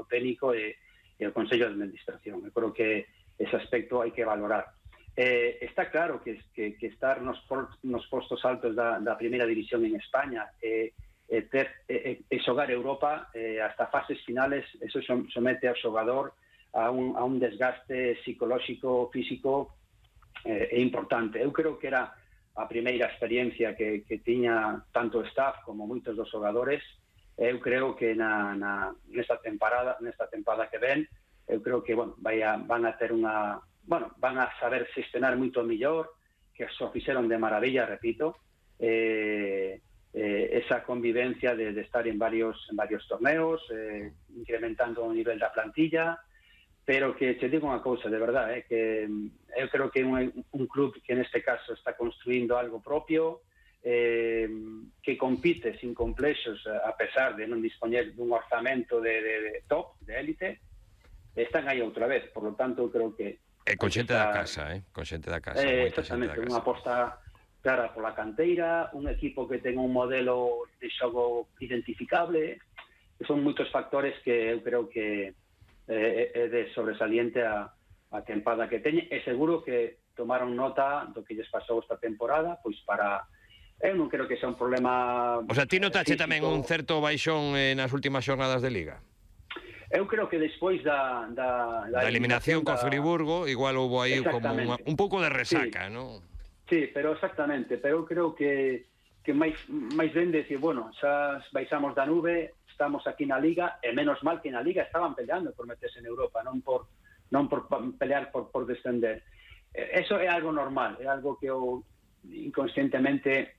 técnico e o Consello de Administración. Eu creo que ese aspecto hai que valorar. Está claro que estar nos postos altos da primeira división en España e xogar Europa hasta fases finales, eso somete ao xogador a un desgaste psicolóxico, físico importante. Eu creo que era a primeira experiencia que tiña tanto o staff como moitos dos xogadores. Eu creo que nesta temporada que ven, eu creo que van a ter van a saber gestionar moito mellor, que xo fixeron de maravilla, repito, esa convivencia de estar en varios torneos, incrementando o nivel da plantilla, pero que te digo unha cousa, de verdade, que eu creo que un club que neste caso está construindo algo propio, que compite sin complexos, a pesar de non dispoñer dun orzamento de top, de élite, están aí outra vez. Por lo tanto, eu creo que con xente da casa, con xente da casa. Exactamente, unha aposta clara pola canteira, un equipo que ten un modelo de xogo identificable, que son moitos factores que eu creo que é de sobresaliente a tempada que teñe, e seguro que tomaron nota do que lles pasou esta temporada, pois para... Eu non creo que sea un problema... O sea, ti notache tamén un certo baixón nas últimas xornadas de Liga? Eu creo que despois da eliminación co Friburgo, igual houve aí como un pouco de resaca, non? Sí, pero exactamente, pero eu creo que máis ben decir, bueno, xa baixamos da nube, estamos aquí na Liga, e menos mal que na Liga estaban peleando por meterse en Europa, non por pelear por descender. Eso é algo normal, é algo que inconscientemente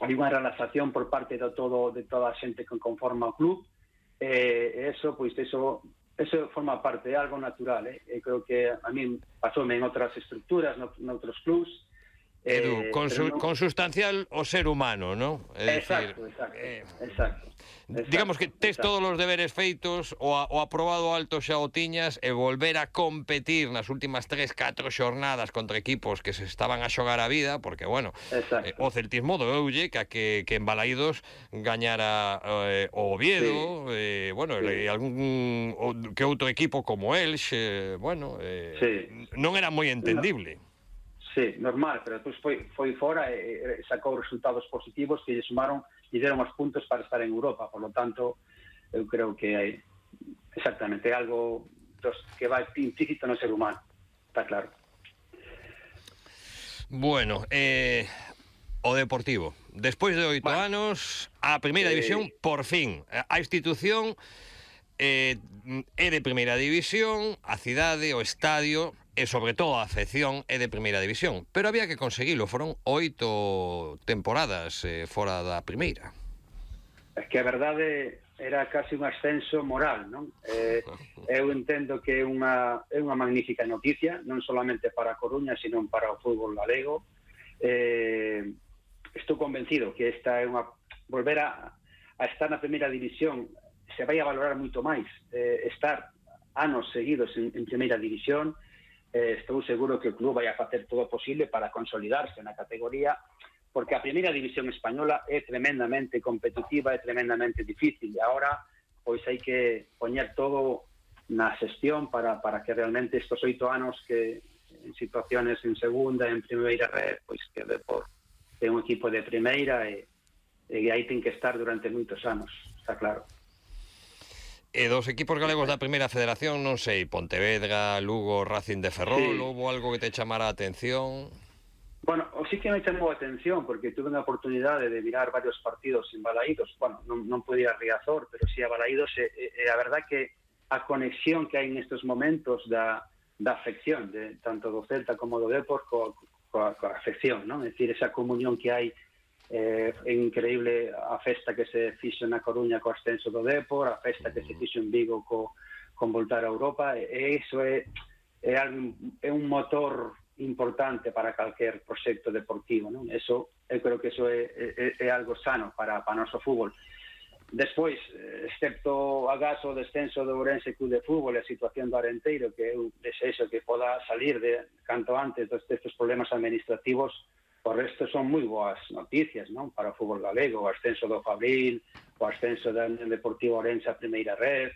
hai unha relaxación por parte de toda a xente que conforma o club, eso forma parte, é algo natural, creo que a mí pasoume en outras estructuras, noutros clubs. Edu, consustancial o ser humano, non? Exacto. Digamos que tes todos os deberes feitos, o aprobado alto xa o tiñas, e volver a competir nas últimas 3-4 xornadas contra equipos que se estaban a xogar a vida, porque, bueno, o celtismo doeulle que en Balaídos gañara o Oviedo, e algún que outro equipo como Elx, non era moi entendible. Sí, normal, pero despois foi fora e sacou resultados positivos que lle sumaron e deron os puntos para estar en Europa. Por lo tanto, eu creo que hai exactamente algo que vai implícito no ser humano, está claro. Bueno, o Deportivo, despois de 8 anos, a primeira división, por fin, a institución é de primeira división, a cidade, o estadio e sobre todo a afección é de primeira división, pero había que conseguilo, foron 8 temporadas fora da primeira. É que a verdade era casi un ascenso moral, non? Eu entendo que é unha magnífica noticia, non solamente para a Coruña, sino para o fútbol galego. Estou convencido que esta é volver a estar na primeira división se vai a valorar moito máis, estar anos seguidos en primeira división. Estou seguro que o club vai a facer todo o posible para consolidarse na categoría, porque a primeira división española é tremendamente competitiva, é tremendamente difícil, e agora pois hai que poñer todo na xestión para que realmente estos 8 anos que en situaciones en segunda, en primeira red, pois que é un equipo de primeira e aí ten que estar durante moitos anos, está claro. E dos equipos galegos da primeira federación, non sei, Pontevedra, Lugo, Racing de Ferrol, houve algo que te chamara a atención? Bueno, sí que me chamou a atención, porque tuve unha oportunidade de mirar varios partidos en Balaídos. Bueno, non pude ir a Riazor, pero sí a Balaídos, e a verdad que a conexión que hai nestes momentos da afección, tanto do Celta como do Depor, coa afección, non? É dicir, esa comunión que hai. É increíble a festa que se fixo na Coruña co ascenso do Depor, a festa que se fixo en Vigo con voltar a Europa, e iso é un motor importante para calquer proxecto deportivo, non? Eso, eu creo que eso é algo sano para o noso fútbol. Despois, excepto acaso o descenso do Ourense Club de Fútbol e a situación do Arenteiro, que eu desexo que poda salir de canto antes destes problemas administrativos, o resto son moi boas noticias, non? Para o fútbol galego, o ascenso do Fabril, o ascenso do Deportivo Ourense a primeira red,